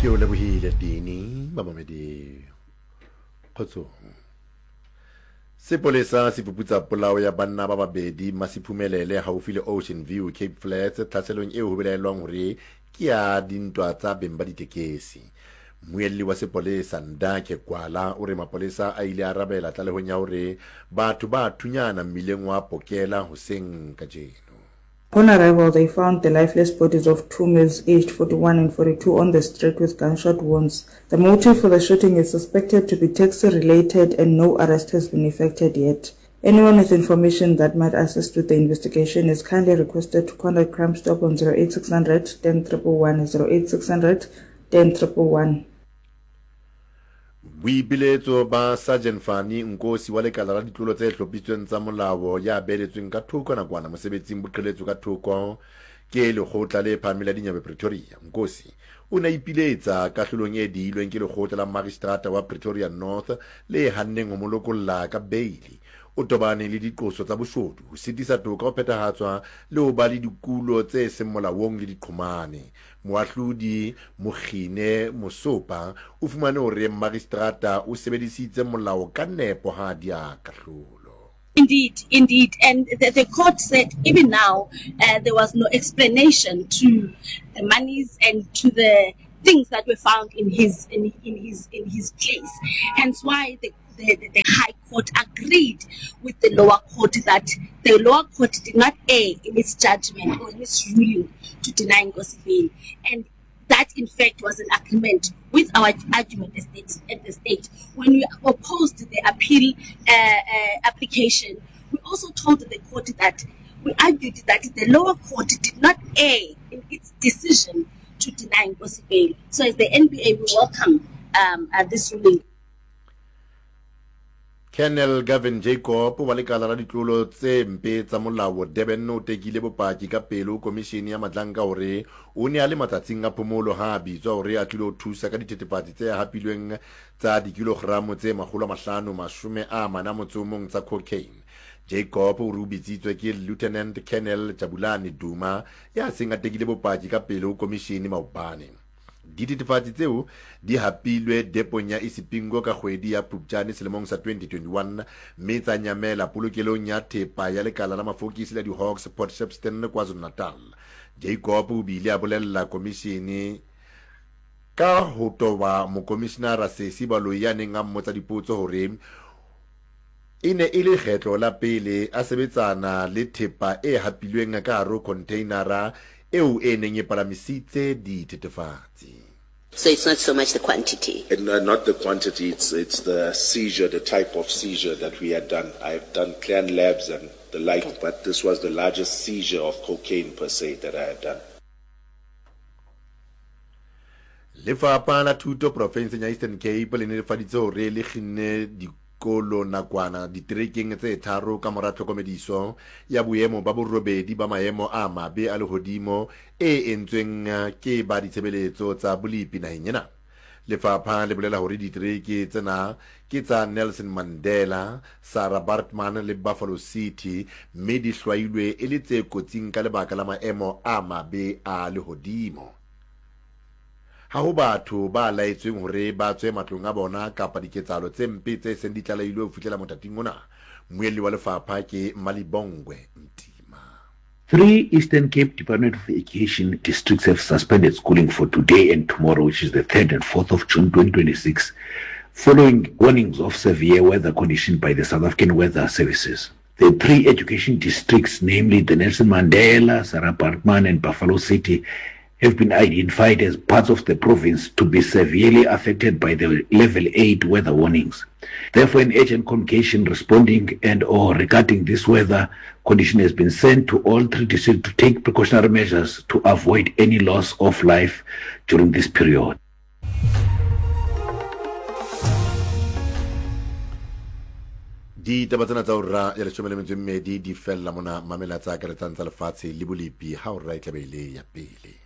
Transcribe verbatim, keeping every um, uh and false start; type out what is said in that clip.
Ke o lebohile Dini bamamedi kgotsong. Sepolesa se fuputsa polao ya banna ba babedi Masiphumelele haufi le Ocean View Cape Flats tlhaselong eo ho belaellwang hore ke ya dintwa tsa beng ba ditekesi. Mmuelli wa sepolesa Ndakhe Gwala o re mapolesa a ile a arabela tlalehong ya hore batho ba thunyana mmileng wa Pokela hoseng kajeno. Upon arrival, they found the lifeless bodies of two males aged forty-one and forty-two on the street with gunshot wounds. The motive for the shooting is suspected to be taxi-related and no arrest has been effected yet. Anyone with information that might assist with the investigation is kindly requested to contact Crime Stop on zero eight six hundred ten triple one, zero eight six hundred ten triple one. Boipiletso ba Sergeant Fani Nkosi wa lekala la ditlolo tse hlophisitsweng tsa molao ya beeletsweng ka thoko nakwana mosebetsing bo qheletswe ka thoko ke lekgotla le phahameng la dinyewe Pretoria. Nkosi o ne a ipiletsa kahlolong e diilweng ke lekgotla la magistrata wa Pretoria North le hanneng ho mo lokolla ka beili. O tobane le diqoso tsa boshodu, ho sitisa toka ho phethahatswa le ho ba le dikulo tse seng molaong le diqhomane. Moahlodi Mokgine Mosopa o fumane hore magistrata o sebedisitse molao ka nepo ha a diha kahlolo. Indeed, indeed. And the, the court said even now uh, there was no explanation to the monies and to the things that were found in his in, in his in his place. Hence why the, the, the, the High Court agreed with the lower court that the lower court did not err in its judgment or in its ruling to deny Nkosi bail. And that, in fact, was an agreement with our argument at the, at the state. When we opposed the appeal, uh, uh, application, we also told the court that we argued that the lower court did not err in its decision to deny Nkosi bail. So as the N B A, we welcome, um, uh, this ruling. Colonel Gavin Jacob wa lekala la ditlolo tse mpe tsa molao Durban o tekile bopaki ka pele ho komishene ya Madlanka hore o ne a le matsatsing a phomolo ha a bitswa hore a tlilo thusa ka dithethefatsi tse hapilweng tsa dikilogramo tse makgolo a mahlano mashome a mane a motso o mong tsa cocaine. Jacob o re o bitsitswe ke Lieutenant Colonel Jabulani Duma ya seng a tekile bopaki ka pele ho komishene maobane. Dithethefatsi tseo di hapilwe depong ya Isipingo ka kgwedi ya Phupjane selemong sa twenty twenty-one mme tsa nyamela polokelong ya thepa ya lekala la mafokisi la di-Hawks Port Shepstone KwaZulu-Natal. Jacob o bile a bolella komishene ka ho toba mokomishinara Sesi Baloyi ya neng a mmotsa dipotso hore e ne e le kgetlo la pele a sebetsana le thepa e hapilweng ka hare ho containera eo e neng e palamisitse dithethefatsi. So it's not so much the quantity. It, no, not the quantity, it's, it's the seizure, the type of seizure that we had done. I've done clan labs and the like, Okay. but this was the largest seizure of cocaine per se that I had done. Lefapha la Thuto profenseng ya Eastern Cape le netefaditse hore le kginne dikolo nakwana diterekeng tse tharo ka mora tlhokomediso ya boemo ba borobedi ba maemo a mabe a lehodimo e entsweng ke ba ditshebeletso tsa bolepi naheng ena. Lefapha le bolela hore ditereke tsena ke tsa Nelson Mandela, Sarah Baartman le Buffalo City mme di hlwailwe e le tse kotsing ka lebaka la maemo a mabe a lehodimo. Ha ho batho ba laetsweng hore ba tswe matlong a bona kapa diketsahalo tse mpe tse seng di tlalehilwe ho fihlela mothating ona. Mmuelli wa lefapha ke Malibongwe Mtima. Three Eastern Cape Department of Education districts have suspended schooling for today and tomorrow, which is the third and fourth of June twenty twenty-six, following warnings of severe weather conditions by the South African Weather Services. The three education districts, namely the Nelson Mandela, Sarah Baartman and Buffalo City, have been identified as parts of the province to be severely affected by the level eight weather warnings. Therefore, an urgent communication responding and or regarding this weather condition has been sent to all three districts to take precautionary measures to avoid any loss of life during this period. Ditaba tsena tsa hora ya leshome le metso e mmedi di fella mona mamela tsa akaretsang tsa lefatshe le bolepi ha hora e tla be e le ya pele.